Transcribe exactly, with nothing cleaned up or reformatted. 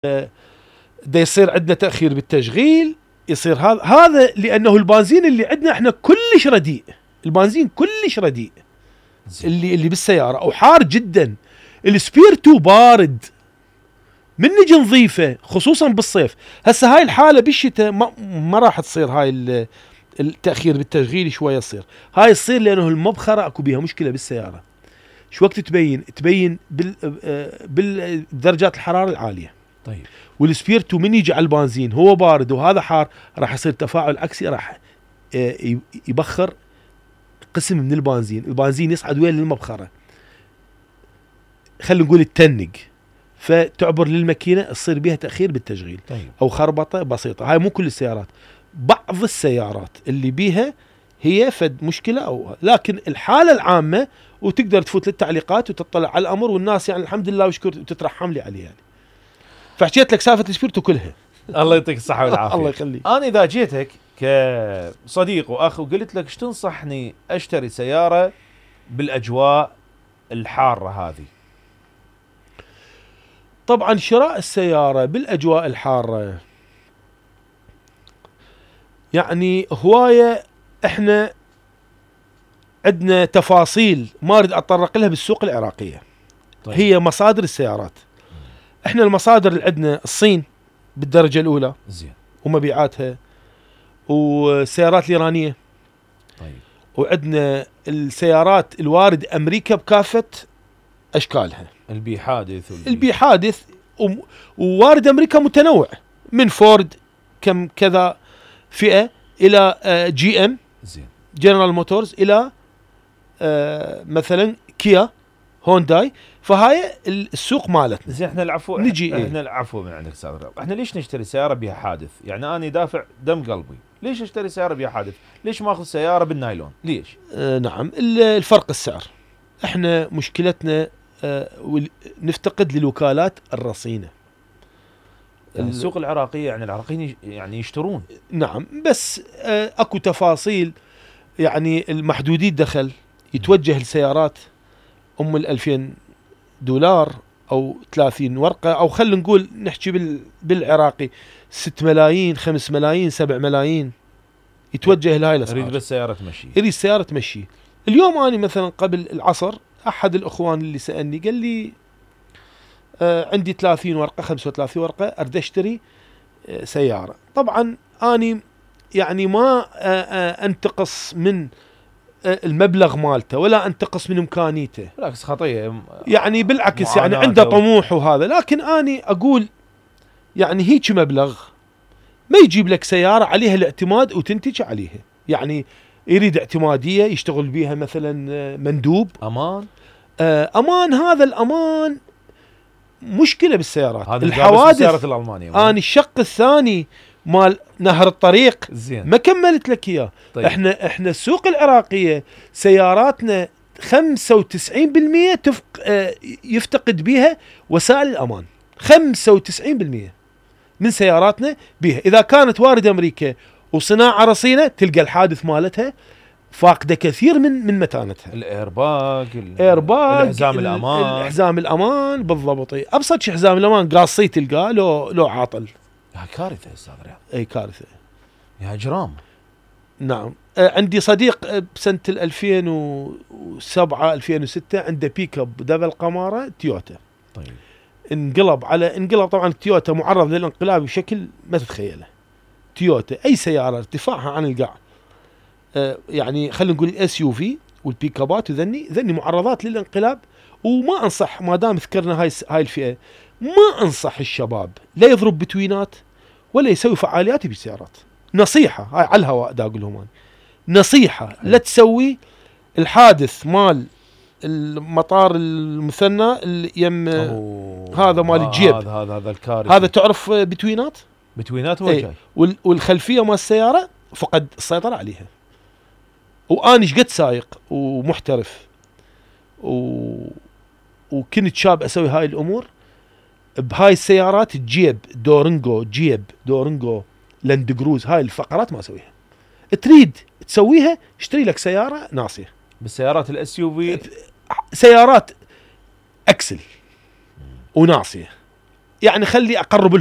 دا يصير عندنا تأخير بالتشغيل، يصير هذا هذا لأنه البنزين اللي عندنا احنا كلش رديء، البنزين كلش رديء اللي اللي بالسيارة أو حار جدا. السبيرتو بارد من نجي نضيفه خصوصا بالصيف. هسه هاي الحالة بالشتاء ما, ما راح تصير هاي التأخير بالتشغيل، شوية يصير هاي تصير لأنه المبخرة اكو بيها مشكلة بالسيارة. شو وقت تبين تبين بال بالدرجات الحرارة العالية. طيب والسبيرتو من يجي على البنزين هو بارد وهذا حار راح يصير تفاعل عكسي، راح يبخر قسم من البنزين، البنزين يصعد وين للمبخرة، خلينا نقول التنق، فتعبر للماكينة تصير بها تأخير بالتشغيل. طيب. أو خربطة بسيطة. هاي مو كل السيارات، بعض السيارات اللي بيها هي فد مشكلة أو، لكن الحالة العامة وتقدر تفوت للتعليقات وتطلع على الأمر، والناس يعني الحمد لله وشكر وتترحم لي عليه يعني. فحكيت لك سالفة السبيرتو كلها. الله يعطيك الصحة والعافية. الله يخليك. أنا إذا جيتك كصديق وأخ وقلت لك ايش تنصحني أشتري سيارة بالأجواء الحارة هذه؟ طبعا شراء السيارة بالأجواء الحارة يعني هواية احنا عندنا تفاصيل ما اريد اتطرق لها بالسوق العراقية. طيب. هي مصادر السيارات. احنا المصادر اللي عندنا الصين بالدرجة الاولى زين ومبيعاتها، والسيارات الايرانية. طيب. وعندنا السيارات الوارد امريكا بكافة اشكالها، البي حادث والبي البي حادث ووارد امريكا متنوع من فورد كم كذا فئة الى جي ام زين جنرال موتورز الى آه مثلا كيا هونداي. فهاي السوق مالتنا. زين احنا العفو نجي احنا ايه؟ العفو من عندك استاذ رياض، احنا ليش نشتري سياره بها حادث؟ يعني انا دافع دم قلبي، ليش اشتري سياره بها حادث؟ ليش ما اخذ سياره بالنايلون؟ ليش؟ آه نعم الفرق السعر. احنا مشكلتنا آه نفتقد للوكالات الرصينه. يعني السوق العراقيه يعني العراقيين يعني يشترون. نعم بس آه اكو تفاصيل، يعني المحدودي الدخل يتوجه لسيارات ام الألفين دولار او ثلاثين ورقة، او خلينا نقول نحكي بالعراقي ست ملايين خمس ملايين سبع ملايين، يتوجه لهاي الاسعار. يريد بس سيارة تمشي، يريد سيارة تمشي. اليوم اني مثلا قبل العصر احد الاخوان اللي سألني قال لي آه عندي ثلاثين ورقة خمسة وثلاثين ورقة اريد اشتري آه سيارة. طبعا اني يعني ما آه آه انتقص من المبلغ مالته ولا انتقص من امكانيته، بالعكس خطيه يعني بالعكس يعني عنده طموح وهذا، لكن اني اقول يعني هيك مبلغ ما يجيب لك سياره عليها الاعتماد وتنتج عليها. يعني يريد اعتماديه يشتغل بيها مثلا مندوب، امان آه امان. هذا الامان مشكله بالسيارات، هذا الحوادث. السيارات الالمانيه اني الشق الثاني مال نهر الطريق زين ما كملت لك اياه. طيب. احنا احنا السوق العراقيه سياراتنا خمسة وتسعين بالمئة تفق اه يفتقد بها وسائل الامان. خمسة وتسعين بالمئة من سياراتنا بها، اذا كانت وارد امريكا وصناعه رصينه تلقى الحادث مالتها فاقده كثير من من متانتها. الايرباج الايرباج الحزام الامان الحزام الامان بالضبط. قبصت شي حزام الامان قاصي تلقاه لو لو عاطل. يا كارثه استاذ رياض، اي كارثه يا اجرام. نعم. آه عندي صديق بسنه ألفين وسبعة ألفين وستة عنده بيك اب دبل قماره تويوتا. طيب انقلب على انقلب طبعا التويوتا معرض للانقلاب بشكل ما تتخيله. تويوتا اي سياره ارتفاعها عن القاع آه يعني خلينا نقول الاس يو في والبيك ابات وذني ذني معرضات للانقلاب. وما انصح ما دام ذكرنا هاي هاي الفئه، ما انصح الشباب لا يضرب بتوينات ولا يسوي فعاليات بالسيارات. نصيحه هاي على الهواء دا اقول لهم نصيحه، لا تسوي الحادث مال المطار المثنى اللي يم هذا مال الجيب. هذا هذا هذا الكارثه. هذا تعرف بتوينات بتوينات هو جاي والخلفيه مال السياره فقد السيطره عليها. واني ايش قد سايق ومحترف و... وكنت شاب اسوي هاي الامور بهاي السيارات. الجيب دورنجو جيب دورنجو لاند كروز هاي الفقرات ما اسويها. تريد تسويها اشتري لك سياره ناصيه. بالسيارات الاس يو في سيارات اكسل وناصيه يعني خلي اقرب